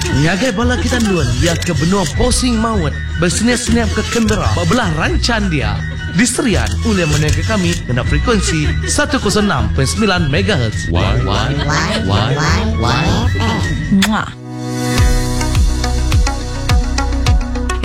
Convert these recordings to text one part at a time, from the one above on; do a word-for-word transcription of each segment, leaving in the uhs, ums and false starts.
Ngagai bala kita nuan ya ke benua posing maut bersenyap-senyap ke kamera bebelah rancan dia. Di Serian oleh menengah kami dengan frekuensi seratus enam perpuluhan sembilan megahertz. Y Y Y Y Mwah.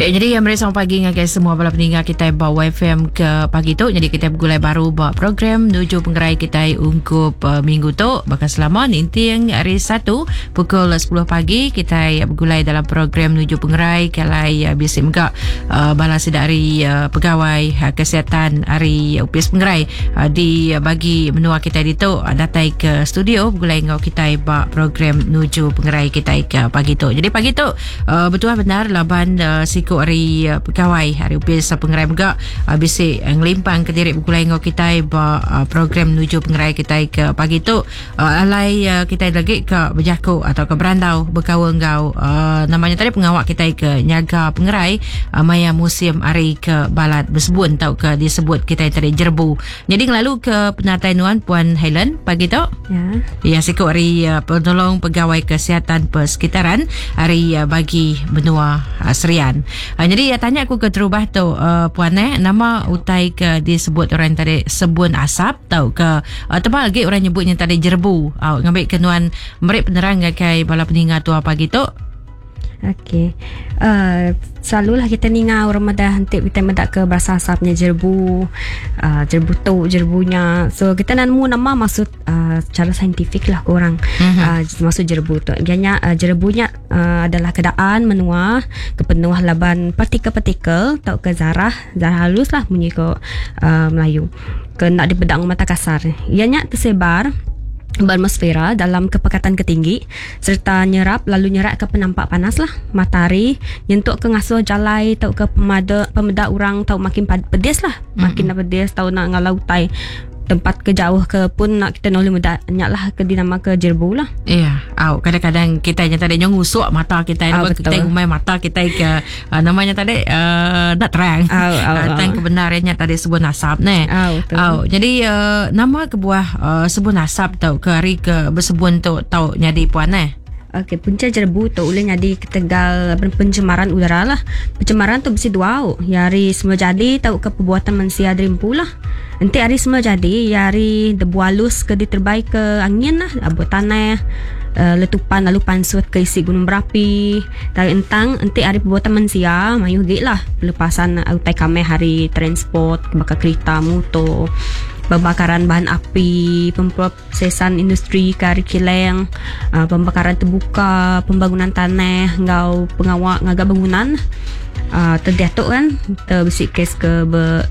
Eh, jadi yang meri selamat pagi ngagai semua bala peninggal kita ba Y F M ke pagi tu. Jadi kita bergulai baru ba program Nuju Pengerai kita ungkup uh, minggu tu. Bahkan selama ninting hari Satu pukul sepuluh pagi kita bergulai dalam program Nuju Pengerai. Kalai uh, biasa juga uh, bala sedari uh, pegawai uh, kesihatan hari Upis Pengerai uh, di uh, bagi menua kita di tu uh, datai ke studio bergulai ngau kita ba program Nuju Pengerai kita ke pagi tu. Jadi pagi tu uh, betul benar laban uh, siku hari uh, pegawai hari Upis Pengerai juga uh, bisi uh, ngelimpang ke diri bergulai ngau kita ba uh, program Nuju Pengerai kita ke pagi tu uh, alai uh, kita lagi ke berjaku atau ke berandau berkawan ngau uh, namanya tadi pengawak kita ke nyaga pengerai uh, maya musim hari ke balat bersebun atau ke disebut kita tadi jerbu. Jadi ngelalu ke penatai nuan Puan Helen pagi tu. Ya. Ya siku hari uh, penolong pegawai kesihatan persekitaran hari uh, bagi benua uh, Serian. Uh, jadi ya, tanya aku ke terubah tu uh, puan eh nama utai ke disebut orang tadi sebun asap tau ke uh, tebal lagi orang nyebutnya tadi jerbu. Uh, ngambil kenuan merik penerang ngagai bala peninga tua pagi tu. Okey. Uh, selalulah kita ninga orang madah hentik kita mendak ke berasa asapnya jerbu, uh, jerbu tu, jerbunya. So kita nemu nama maksud uh, secara saintifik lah korang. Mm-hmm. Uh, maksud jerbu tu. Ianya uh, jerbunya uh, adalah keadaan menua kepenuh laban partikel-partikel atau ke zarah, zarah halus lah bunyi ke uh, Melayu. Ke nak dipedang mata kasar. Ianya tersebar atmosfera dalam kepekatan ketinggi serta nyerap lalu nyerak ke penampak panas lah matahari nyentuk ke ngasuh jalai tau ke pemada pemeda orang tau makin pedis lah makin mm-hmm. pedis tau nak ngalau utai tempat ke jauh ke pun nak kita nolih muda nyak lah ke dinama ke jerbu lah. Iya, au kadang-kadang kita yang tadi nyong usuk mata kita oh, kita ngumai mata kita ke uh, namanya tadi uh, nak terang. Oh, oh, uh, tang kebenarannya tadi sebun asap ne. Oh, au jadi uh, nama ke buah uh, sebun asap tau ke hari ke bersebun tu tau nyadi puan ne. Okey, punca jerbu tu boleh jadi ketegal pencemaran udara lah. Pencemaran tu mesti dua, yari semua jadi tau ke perbuatan manusia derimpu lah. Nanti hari semua jadi, yari debu halus ke diterbai ke angin lah, abu tanah, uh, letupan lalu pansut ke isi gunung berapi. Dari entang, nanti hari perbuatan manusia, mayu gik lah. Pelepasan utai kami hari transport, bakal kereta, motor, pembakaran bahan api, pemprosesan industri kari kileng, uh, pembakaran terbuka, pembangunan tanah, ngau pengawak ngagak bangunan. Uh, terdiatuk kan, terbisik kes ke ber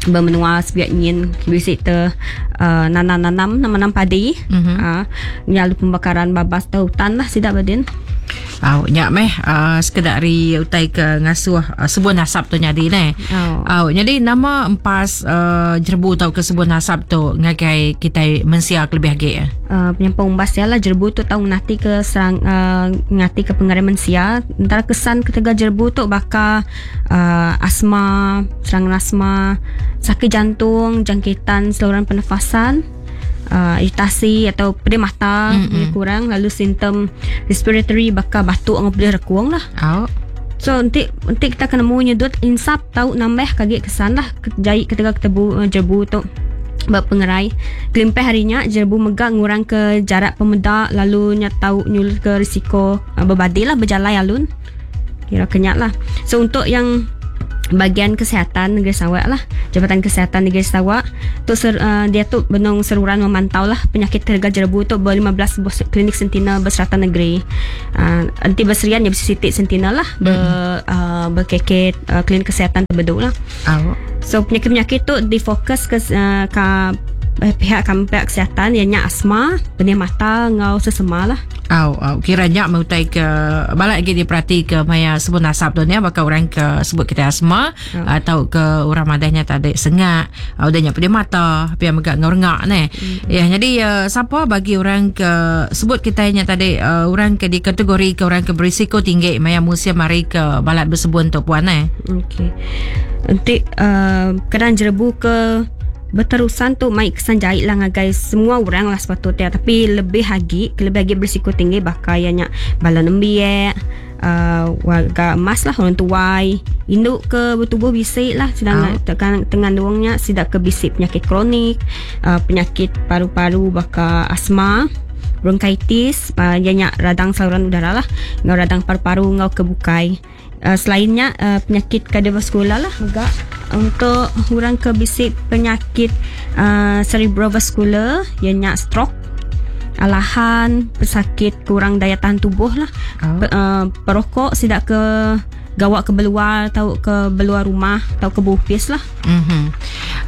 bermenua sebiak nyin bisik ter uh, nanam-nanam nanam padi. Mm-hmm. Uh, nyalu pembakaran babas te hutan lah sidak badin. Au nyak meh uh, sekedar ri utai ke ngasuh uh, sebun asap tu nyadi ne. Oh. Au jadi nama empas uh, jerbu tau ke sebun asap tu ngagai kita mensia lebih agi ya. Uh, penyampau umbas ya lah jerbu tu tau ngati ke serang uh, ngati ke pengaruh mensia. Antara kesan ketiga jerbu tu bakal uh, asma, serangan asma, sakit jantung, jangkitan saluran pernafasan, Uh, iritasi atau pedih mata mm-hmm. kurang, lalu simptom respiratory bakal batuk dengan pedih rekuang lah. Oh. So nanti nanti kita kena mu nyedut insap tau nambah kagik kesan lah jahit ketika ketebu uh, jerbu tu berpengerai. Kelimpah harinya jerbu megak ngurang ke jarak pemedak lalu nya tau nyul ke risiko uh, berbadi lah berjalai alun. Kira kenyak lah. So untuk yang bagian kesihatan negeri Sarawak lah, Jabatan Kesihatan Negeri Sarawak tu ser, uh, dia tu benung seruran memantau lah penyakit terga jerbu tu ber lima belas klinik sentinel berserata negeri. Uh, anti berserian ya bersitik sentinel lah ber uh, berkeket uh, klinik kesihatan terbeduk lah. Oh. So penyakit-penyakit tu difokus ke uh, ke pihak kami pihak kesihatan ianya asma, pedih mata ngau sesema lah. Au, au kiranya mengutai ke balak lagi diperhati ke maya sebut nasab tu ni bakal orang ke sebut kita asma oh. atau ke orang madahnya tak ada sengak, udahnya pedih mata, pihak megak ngorengak ni. Hmm. Ya, jadi uh, siapa bagi orang ke sebut kita nya tadi uh, orang ke di kategori ke orang ke berisiko tinggi maya musim mari ke balat bersebun tu puan eh. Okey. Nanti uh, keadaan jerebu ke Berterusan tu mai kesan jahit lah ngagai semua orang lah sepatutnya, tapi lebih lagi lebih lagi berisiko tinggi bakal ianya bala nembiak, uh, warga emas lah, orang tuai, induk ke bertubuh bisik lah, sedang oh. tekan tengandungnya sidak ke bisik penyakit kronik, uh, penyakit paru-paru bakal asma, bronkitis, uh, ianya radang saluran udara lah, ngau radang paru-paru ngau kebukai. Uh, selainnya uh, penyakit kardiovaskular lah juga untuk orang ke bisik penyakit uh, cerebrovaskular, ianya stroke, alahan, pesakit kurang daya tahan tubuh lah. Oh. Pe, uh, perokok sidak ke gawak ke beluar atau ke beluar rumah atau ke bupis lah. Mhm.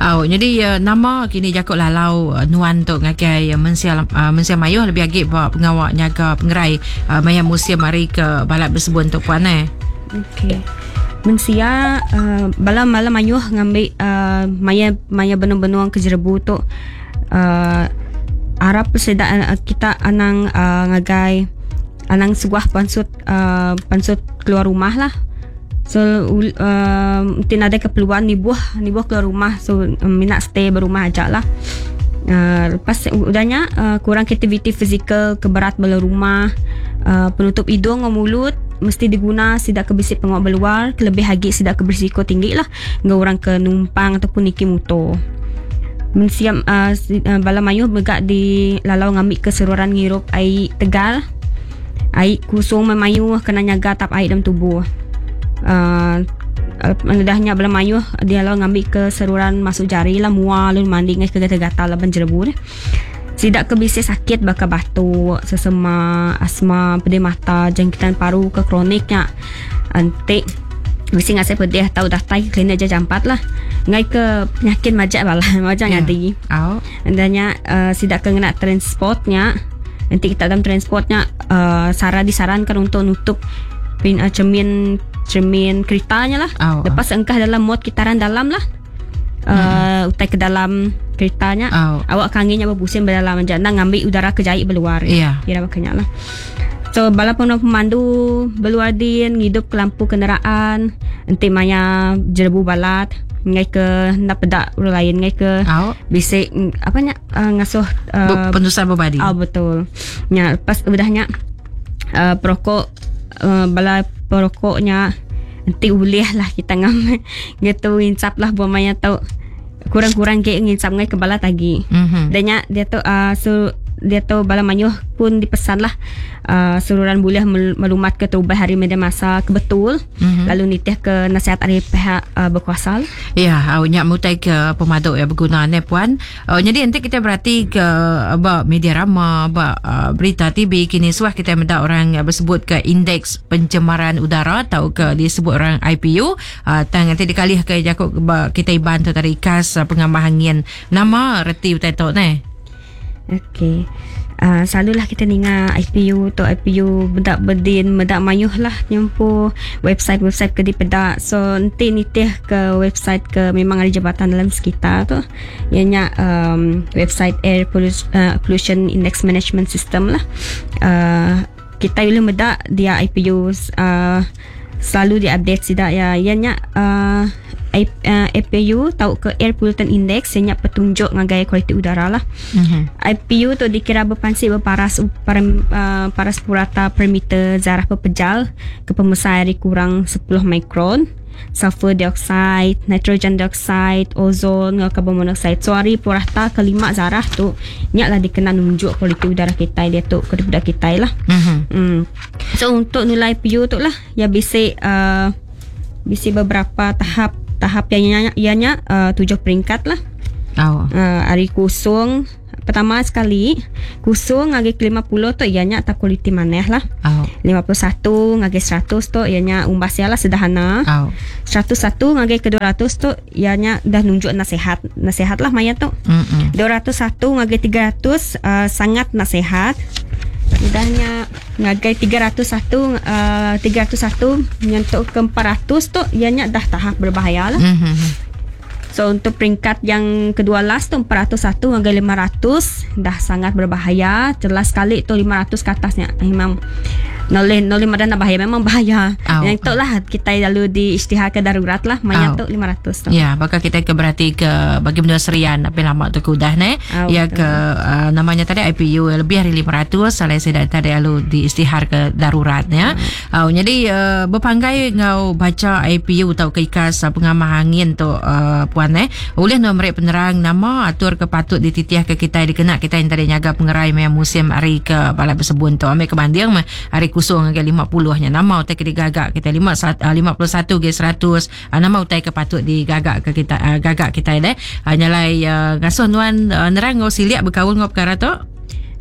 Oh, jadi uh, nama kini jakuk lalau uh, nuan tu ngagai uh, mensia uh, mensia mayuh lebih agi ba pengawak nyaga pengerai uh, maya musim hari ke balat bersebun tu puan eh. Okey. Mensia uh, bala malam mayuh ngambil uh, maya maya benung-benung ke jerebu tu uh, harap sedak uh, kita anang uh, ngagai anang sebuah pansut uh, pansut keluar rumah lah. So uh, mungkin ada keperluan ni buah ni buah keluar rumah, so um, minat stay berumah aja lah. Uh, lepas udahnya uh, kurang aktiviti fizikal, keberat bela rumah, uh, penutup hidung dan mulut mesti diguna sidak ke bisik pengok beluar, kelebih lagi sidak ke berisiko tinggi lah dengan orang ke numpang ataupun niki motor. Mensiam uh, bala mayuh megak di lalau ngambil keseluruhan ngirup air tegal, air kusung memayuh kena nyaga tap air dalam tubuh. Uh, Dahnya bala mayuh dia lalau ngambil keseluruhan masuk jari lah, mual lalu mandi ngai kegatal-gatal laban jerebu ni. Sidak ke bisik sakit bakal batuk, sesema, asma, pedih mata, jangkitan paru ke kroniknya. Antik bisik ngasai pedih atau datai ke klinik aja jampat lah. Ngai ke penyakit majak balah, majak yeah. Ngadi. Oh. Andanya uh, sidak ke ngena transportnya. Nanti kita dalam transportnya uh, sara disarankan untuk nutup pin, uh, cermin cermin keretanya lah. Oh. Lepas engkah dalam mod kitaran dalam lah. Uh, hmm. Utai ke dalam keretanya. Oh. Awak kanginya berpusing berdalam aja nak ngambil udara kejait berluar. Yeah. Kira makanya lah. So bala pemandu berluar din ngidup ke lampu kenderaan, enti maya jerebu balat ngai ke nak pedak orang lain ngai ke oh. Bisik apa nya uh, ngasuh uh, penusan berbadi. Ah oh, betul. Nya lepas udahnya uh, perokok uh, bala perokoknya enti boleh lah kita ngam gitu ngincap lah buat maya tau kurang-kurang ke ngincap ngai ke bala tagi. Mm-hmm. Danya dia tu uh, so dia tu bala mayuh pun dipesan lah uh, seluruhan boleh melumat ke terubah hari media masa ke betul, mm-hmm. lalu nitih ke nasihat dari pihak uh, berkuasa. Ya, awaknya mutai ke pemaduk yang berguna ni puan. Uh, jadi nanti kita berarti ke ba media rama, ba uh, berita T V kini suah kita mendak orang bersebut ke indeks pencemaran udara atau ke disebut orang I P U. Uh, tang nanti dikalih ke jakuk ba, kita iban tu tadi kas uh, pengamah angin. Nama reti utai tok ni. Okey. Uh, selalulah kita dengar I P U tu I P U bedak berdin bedak mayuh lah nyempu website-website ke di pedak. So nanti nitih ke website ke memang ada jabatan dalam sekitar tu. Ianya um, website Air Pollution, uh, Pollution Index Management System lah. Uh, kita boleh bedak dia I P U uh, selalu diupdate sidak ya. Ianya uh, A P U tau ke Air Pollutant Index ianya petunjuk ngagai kualiti udara lah. Mm-hmm. I P U tu dikira berpansik berparas par, uh, paras purata per meter zarah pepejal ke pemesar air kurang sepuluh mikron, sulfur dioxide, nitrogen dioxide, ozon, dengan karbon monoxide. So hari purata kelima zarah tu nyaklah dikena nunjuk kualiti udara kita dia tu ke budak kita lah. Mm-hmm. Mm. So untuk nilai I P U tu lah ya bisik uh, bisik beberapa tahap tahap yang ianya uh, tujuh peringkat lah. Oh. Uh, hari kusung pertama sekali kusung ngagi ke lima puluh tu ianya tak kualiti maneh lah. Oh. lima puluh satu ngagi seratus tu ianya umbas lah sederhana. Oh. seratus satu ngagi ke dua ratus tu ianya dah nunjuk nasihat. Nasihat lah maya tu. Mm-mm. dua ratus satu ngagi tiga ratus uh, sangat nasihat. Udahnya ngagai tiga ratus satu uh, tiga ratus satu nyentuh ke empat ratus tu ianya dah tahap berbahaya lah. Mm-hmm. So untuk peringkat yang kedua last tu empat ratus satu hingga lima ratus dah sangat berbahaya. Jelas sekali tu lima ratus ke atasnya memang Noleh noleh madan bahaya memang bahaya. Au. Yang tu lah kita lalu diisytiharkan darurat lah maya Au. tu lima ratus tu. Ya, bakal kita ke berarti ke bagi menua Serian tapi lama tu ke udah ne. Au, Ya betul. ke uh, namanya tadi I P U lebih dari lima ratus salai saya tadi lalu diisytihar ke darurat ya. Hmm. Uh, jadi uh, berpanggai ngau baca I P U atau ke ikas uh, pengamah angin tu uh, puan eh. Boleh nak merik penerang nama atur ke patut dititiah ke kita dikena kita yang tadi nyaga pengerai maya musim hari ke balai bersebun tu ambil kebanding mah hari kusung ke lima puluh nya nama utai ke digagak kita lima lima puluh satu ke seratus nama utai ke patut digagak ke kita uh, gagak kita deh uh, nyalai uh, ngasuh nuan uh, nerang ngau siliak berkaul ngau perkara tu.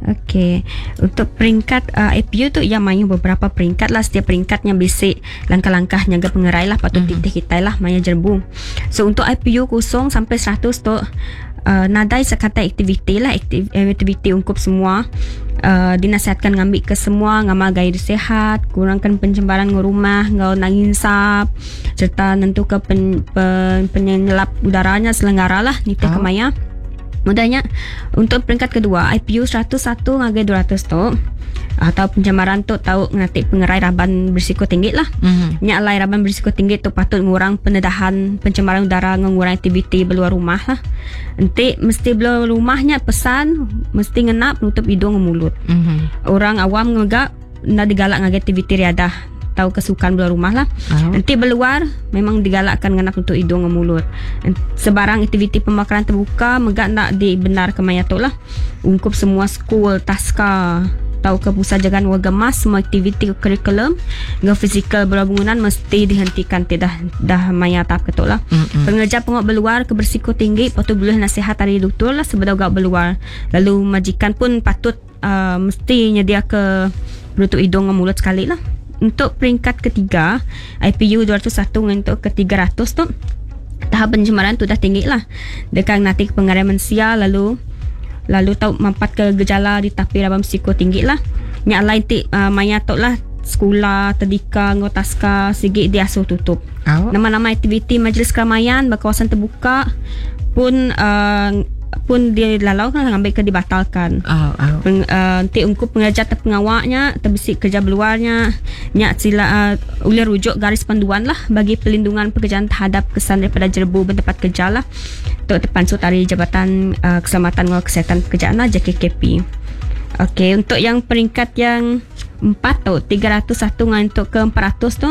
Okey, untuk peringkat uh, I P U tu ia main beberapa peringkat lah. Setiap peringkatnya bisik langkah-langkah nyaga pengerai lah patut mm-hmm. titih kita lah maya jerbu. So untuk I P U kosong sampai seratus tu uh, nadai sekata aktiviti lah, aktiv, aktiviti ungkup semua. Uh, dinasihatkan ngambil ke semua ngamal gaya hidup sihat, kurangkan pencemaran ngau rumah, ngau nanginsap serta nentu ke pen, pen, penyelap udaranya selenggara lah nitih Oh. ke maya. Mudahnya untuk peringkat kedua I P U seratus satu ngagai dua ratus tu atau pencemaran tu tahu ngati pengerai raban berisiko tinggi lah. Mm-hmm. Nyak lai raban berisiko tinggi tu patut ngurang pendedahan pencemaran udara ngurang aktiviti beluar rumah lah. Enti mesti beluar rumahnya pesan mesti ngenap nutup hidung dan mulut. Mm-hmm. Orang awam ngegak nak digalak ngagai aktiviti riadah tahu kesukaan beluar rumah lah. Oh. Nanti beluar memang digalakkan ngenap untuk hidung dan mulut. Sebarang aktiviti pembakaran terbuka megak nak dibenarkan maya tu lah. Ungkup semua school, taska, tahu ke pusat jagaan warga mas, semua aktiviti kurikulum dengan fizikal beluar bangunan mesti dihentikan tidak dah maya tahap ketuk lah. Mm-mm. Pengerja pengok beluar ke berisiko tinggi patut boleh nasihat dari doktor lah sebelum gak beluar. Lalu majikan pun patut uh, mesti nyedia ke penutup hidung dan mulut sekali lah. Untuk peringkat ketiga I P U dua ratus satu untuk ke tiga ratus tu tahap pencemaran tu dah tinggi lah. Dekat nanti pengaruh manusia lalu lalu tahu mampat ke gejala di tapi rabam psiko tinggi lah. Nyak lain ti uh, maya tok lah sekolah, tadika, ngau taska sigi diasuh tutup. Oh. Nama-nama aktiviti majlis keramaian berkawasan terbuka pun uh, pun dia lalau kan ngambil ke dibatalkan. Oh, oh. Peng, uh, nanti ungkup pengajar atau pengawaknya terbesik kerja berluarnya nyak sila uh, boleh rujuk garis panduan lah bagi pelindungan pekerjaan terhadap kesan daripada jerbu bertempat kerja lah untuk terpansu tari Jabatan uh, Keselamatan dan Kesihatan Pekerjaan lah J K K P. Okey, untuk yang peringkat yang empat tu tiga ratus satu dengan untuk ke empat ratus tu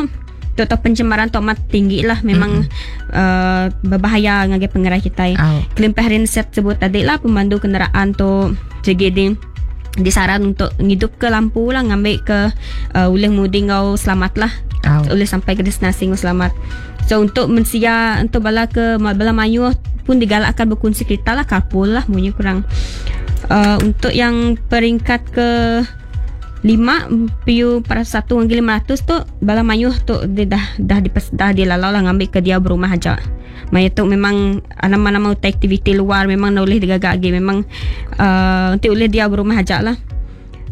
untuk pencemaran tu amat tinggi lah memang mm-hmm. uh, berbahaya ngagai pengerai kita. Oh. Kelimpah hari set sebut tadi lah pemandu kenderaan tu J G D disaran untuk ngidup ke lampu lah ngambil ke uh, ulih mudi ngau selamat lah. Oh. Ulih sampai ke destinasi ngau selamat. So untuk mensia untuk bala ke bala mayuh pun digalakkan berkongsi kereta lah carpool lah bunyi kurang. Uh, untuk yang peringkat ke lima P U empat ratus satu hingga lima ratus tu bala mayuh tu dia dah dah dipes, dah dilalau lah ngambil ke dia berumah aja. Maya tu memang nama-nama aktiviti luar memang nak boleh digagak lagi memang uh, nanti boleh dia berumah aja lah.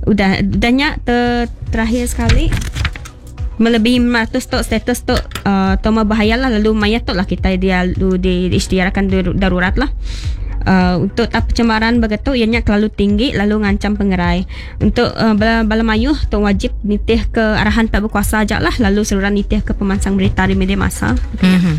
Udah udahnya ter, terakhir sekali melebihi lima ratus tu status tu uh, toma bahaya lah lalu maya tu lah kita dia lalu di, diisytiharkan darurat lah. Uh, untuk tahap pencemaran begitu ianya terlalu tinggi lalu ngancam pengerai. Untuk uh, bala, bala mayuh tu wajib nitih ke arahan pihak berkuasa aja lah lalu seluruh nitih ke pemansang berita di media massa. Mm-hmm.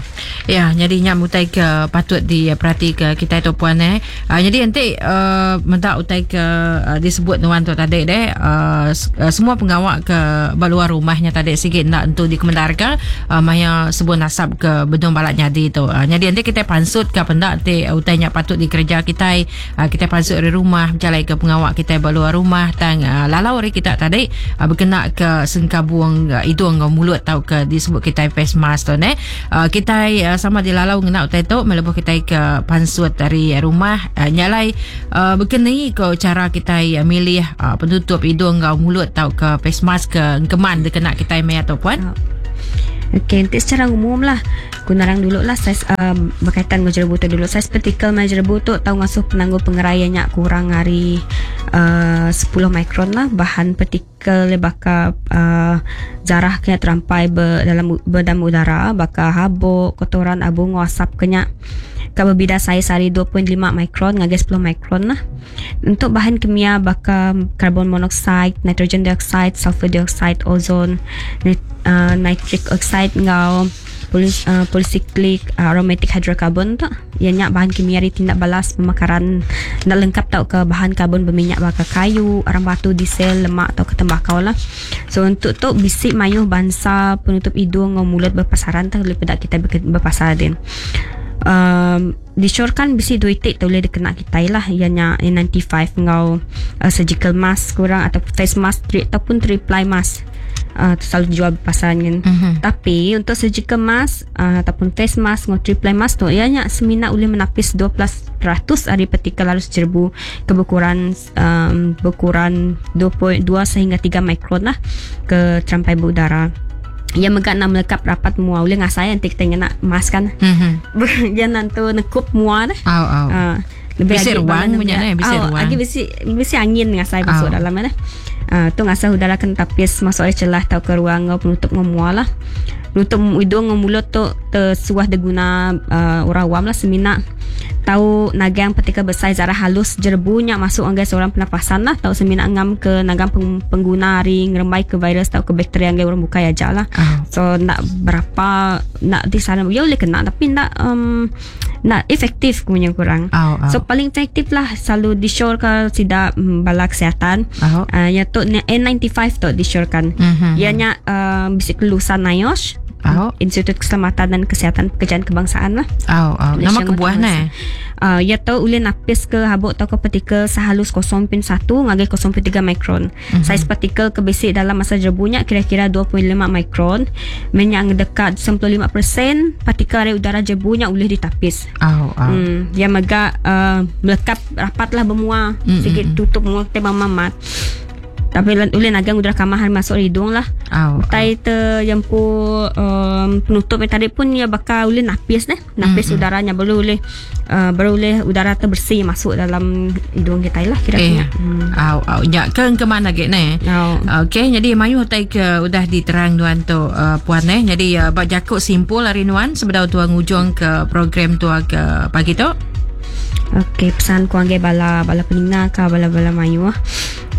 Ya, jadi nyak utai ke patut diperhati ke kita tu puan eh. Uh, jadi nanti uh, mentak utai ke uh, disebut nuan tu tadi deh uh, semua pengawak ke luar rumahnya tadi sikit nak untuk dikemendarkan uh, maya sebuah nasab ke bedung balak nyadi tu. Uh, jadi nanti kita pansut ke pendak nanti utai nyak patut di kerja kita uh, kita masuk dari rumah berjalan ke pengawak kita luar rumah tang uh, lalau hari kita tadi uh, berkenak ke sengkabung uh, hidung ke mulut tau ke disebut kita face mask tu ne uh, kita uh, sama dilalau ngena utai tu melebuh kita ke pansut dari rumah uh, nyalai uh, berkenai ke cara kita uh, milih uh, penutup hidung ke mulut tau ke face mask ke keman dikenak kita maya tu puan. Oh. Okey, nanti secara umum lah aku narang dulu lah saiz um, berkaitan dengan jerebu tu dulu. Saiz partikel mai jerebu tu tau ngasuh penangguh pengeraiannya kurang hari uh, sepuluh mikron lah. Bahan partikel bakal uh, zarah kena terampai ber, dalam berdam udara, bakal habuk, kotoran, abu, asap kena ka berbida saiz hari dua perpuluhan lima mikron ngagai sepuluh mikron lah. Untuk bahan kimia bakal karbon monoksida, nitrogen dioxide, sulfur dioxide, ozon, nit, uh, nitric oxide ngau polis, uh, polycyclic uh, aromatic hydrocarbon tu. Ianya bahan kimia ri tindak balas pemakaran nak lengkap tau ke bahan karbon berminyak bakal kayu, arang batu, diesel, lemak atau ke tembakau lah. So untuk tu bisik mayuh bangsa penutup hidung ngau mulut berpasaran tu lebih pada kita berpasar din. Um, disyorkan bisi dua itik tu boleh dikena kita lah. Ianya N sembilan puluh lima ngau uh, surgical mask kurang atau face mask tri, ataupun three ply mask. Uh, selalu jual pasaran kan. Mm-hmm. Tapi untuk surgical mask uh, ataupun face mask ngau three ply mask tu ianya semina boleh menapis dua belas peratus dari partikel halus jerebu keberkuran, um, berkuran dua perpuluhan dua sehingga tiga mikron lah ke terampai berudara. Yang megak nak melekap rapat mua boleh ngasai nanti kita nak mask kan. Mm-hmm. Dia nanti nekup mua dah. Au, au. Uh, lebih Bisi agi ruang balan punya lebih ni, bisi au, ruang. Agi bisi, bisi angin ngasai masuk Au. dalam dah. Uh, tu ngasai udara kena tapis masuk oleh celah atau ke ruang ngau penutup ngemua lah. Penutup hidung ngau mulut tu tersuah diguna uh, orang awam lah semina tahu nagang partikel besar zarah halus jerebunya masuk anggai seorang pernafasan lah, tahu semina ngam ke nagang peng, pengguna hari ngerembai ke virus atau ke bakteri anggai orang bukai aja lah. Oh. So nak berapa nak disaran ya boleh kena tapi nak um, nak efektif punya kurang. Oh, oh. So paling efektif lah selalu disyorkan sidak um, bala kesihatan. Oh. Uh, ya tu N sembilan puluh lima tu disyorkan. Mm-hmm. Ianya uh, bisik kelulusan NIOSH. Oh. Institut Keselamatan dan Kesihatan Pekerjaan Kebangsaan lah. Oh, oh. Nama Malaysia kebuah Ngotong ni? Uh, ya tahu boleh napis ke habuk atau ke partikel sehalus kosong perpuluhan satu ngagai kosong perpuluhan tiga mikron. Mm-hmm. Saiz partikel kebesik dalam masa jerebunya kira-kira dua perpuluhan lima mikron. Minyak dekat sembilan puluh lima peratus partikel dari udara jerebunya boleh ditapis. Oh, oh. Hmm, dia megak uh, melekap rapatlah bermua. Mm-hmm. Sikit tutup mua tema mamat. Tapi boleh nagang udara kamar hari masuk hidung lah. Oh, Tai ter yang pu um, penutup yang tadi pun ya bakal boleh napis deh. Napis Mm-mm. udaranya baru boleh uh, baru boleh udara terbersih masuk dalam hidung kita lah kira-kira. Eh. Hmm. Au au ya ke ke mana lagi ni? Oh. Okey, jadi mayu tai ke udah diterang tuan tu uh, puan eh. Jadi uh, bak jakuk simpul hari nuan sebedau tuan ujung ke program tua ke pagi tu. Okey, pesan ku angge bala bala peninga ka bala-bala mayu.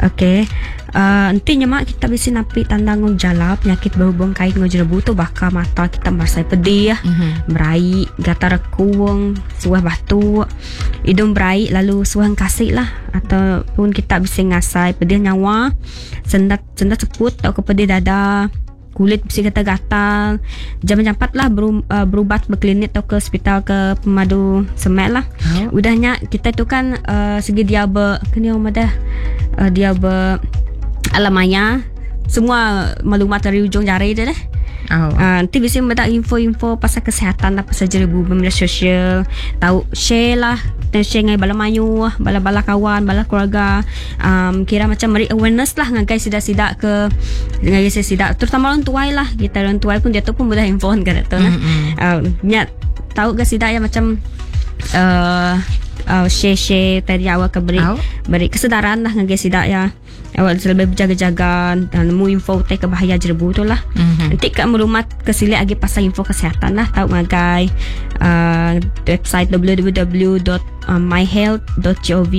Okey. Uh, nanti nyemak kita bisa napi tanda ngejala penyakit berhubung kait ngejerebu tu bakal mata kita merasa pedih, mm-hmm. berai, gatal rekuang, suah batu, hidung berai lalu suah kasih lah ataupun kita bisa ngasai pedih nyawa, sendat sendat seput atau ke pedih dada, kulit bisa gatal-gatal. Jam-jam empat lah beru, uh, berubat berklinik atau ke hospital ke pemadu semek lah. Oh. Udahnya kita tu kan uh, segi dia ber kena dah uh, dia ber alam maya semua maklumat dari ujung jari dia deh. Oh. Uh, nanti bisa mendapat info-info pasal kesihatan lah, pasal jerebu media sosial, tahu share lah, dan share dengan bala mayu, bala-bala kawan, bala keluarga. Um, kira macam beri awareness lah dengan guys sidak-sidak ke dengan guys sidak, terutama orang tua lah. Kita orang tua pun dia tu pun mudah handphone kan tu nah. Mm-hmm. Uh, nyat tahu ke sidak yang macam uh, uh, share-share tadi awak ke beri oh. beri kesedaran lah dengan guys sidak ya. Awak lebih berjaga-jaga dan nemu info teh ke bahaya jerebu tu lah. Mm-hmm. Nanti kat melumat kesilik lagi pasal info kesihatan lah. Tahu ngagai uh, website w w w dot my health dot gov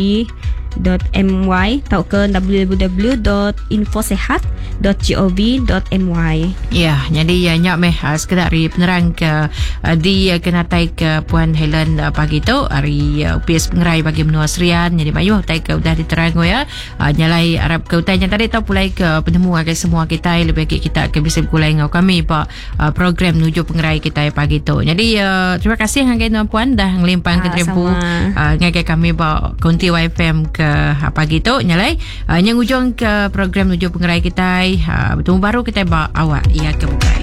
dot m y atau ke w w w dot infosehat dot gov dot m y. Ya, jadi ya nyak meh uh, sekedar hari penerang ke uh, di uh, kenatai ke Puan Helen uh, pagi tu hari uh, U P S Pengerai bagi menua Serian. Jadi mayuh tai ke udah diterang ya. Uh, nyalai Arab ke utai yang tadi tau pulai ke penemu agai semua kita lebih baik kita ke bisa pulai ngau kami pak uh, program menuju Pengerai kita pagi tu. Jadi uh, terima kasih ngagai tuan puan dah ngelimpang ke terempu uh, ngagai kami pak konti Y F M ke pagi tu nyalai uh, yang ujung ke program menuju Pengerai kita uh, bertemu baru kita bak awak ia ke bukai.